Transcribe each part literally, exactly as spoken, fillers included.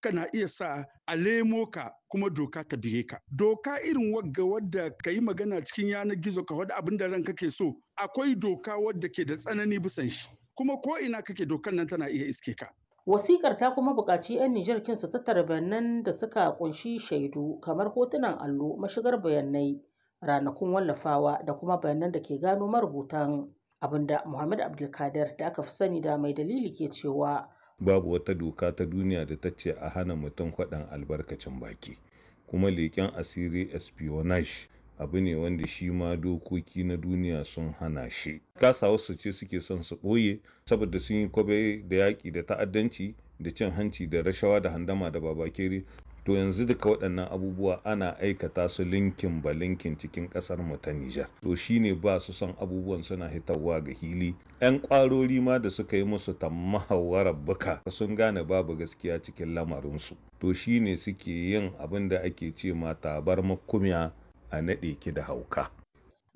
Kana iya sa a lemo ka kuma doka ta bige ka. Doka irin wagga wadda ka yi magana cikin yanar gizo ka wadda abin da ranka ke so, akwai doka wadda ke da tsanani bisan shi. Kuma ko ina kake dokan nan tana iya iske ka. Wasikar ta kuma buƙaci 'yan Nijar kin su tattara bayanan da suka kunshi shaidu kamar hotunan allo, mashigar bayanai, ranakun wallafawa da kuma bayanan da ke gano marubutan abinda Muhammad Abdulkadir da aka fi sani da mai dalili ke cewa. Babu wata doka ta duniya da ta ce a hana mutum faɗan albarkacin baki, kuma leƙen asiri espionage abu ne wanda shi ma dokoki na duniya sun hana shi. Kasa wasu ce suke son su ɓoye saboda sun yi kwabe da yaƙi da ta'addanci da cin hanci da rashawa da handama da babakere. To yanzu duka waɗannan abubuwa ana aikata su linkin ba linkin cikin ƙasar mu ta Nijar. To shine ba su son abubuwan suna hitawa ga hili. 'Yan ƙwarori ma da suka yi musu tammahawarar buka sun gane babu gaskiya cikin lamarinsu. To shine suke yin abin da ake ce ma tabar makumiya a naɗe ki da hauka.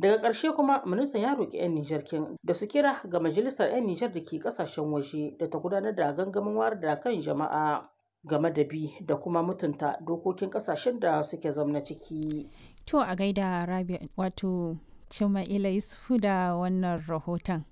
Daga ƙarshe kuma ministan ya roƙi 'yan Nijar kin da su kira ga majalisar 'yan Nijar da ke ƙasashen waje da ta gudanar da gangamin wayar da kan jama'a game da bi da kuma mutunta dokokin ƙasashen da suke zamna ciki. To a gaida Rabi wato Cima'ila Yusufu da wannan rahoton.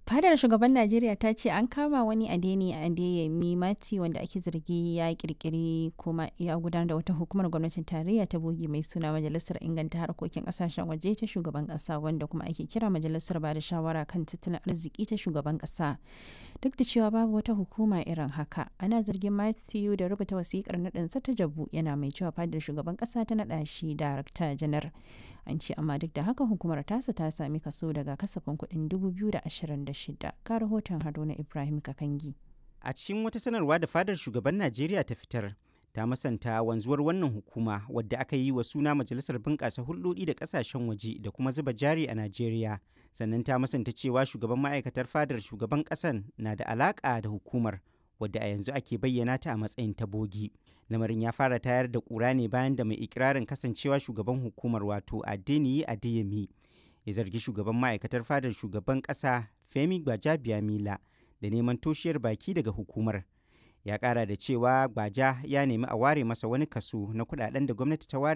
Fadar shugaban Najeriya ta ce an kama wani Adeni Adeyemi Mati wanda ake zargi ya kirkiri kuma ya gudanar da wata hukumar gwamnatin tarayya ta bogi mai suna Majalisar Inganta Harkokin Kasashen Waje ta Shugaban Kasa wanda kuma ake kira Majalisar Bada Shawara kan Tattalin Arziki ta Shugaban Kasa. Duk da cewa babu wata hukuma irin haka, ana zargin Matthew da rubuta wasikar naɗinsa ta jabu yana mai cewa fadar shugaban kasa ta naɗa shi darakta janar. An ce amma duk da haka hukumar tasa ta sami kaso daga kasafin kuɗin dubu biyu da ashirin da shida. Ka rahoton Haruna Ibrahim Kakangi. A cikin wata sanarwa da fadar shugaban Najeriya ta fitar, ta masanta wanzuwar wannan hukuma wadda aka yi wa suna Majalisar Bunƙasa Hulɗoɗi da Ƙasashen Waje da kuma Zuba Jari a Najeriya. Sannan ta masanta cewa shugaban ma'aikatar fadar shugaban ƙasan na da alaƙa da hukumar wadda a yanzu ake bayyana ta a matsayin ta bogi. Lamarin ya fara tayar da ƙura ne bayan da mai ikirarin kasancewa shugaban hukumar, wato Adeniyi Adeyemi, ya zargi shugaban ma'aikatar fadar shugaban ƙasa Femi Gbajabiamila da neman toshiyar baki daga hukumar. Ya ƙara da cewa Gbaja ya nemi a ware masa wani kaso na kudaden da gwamnati ta ware.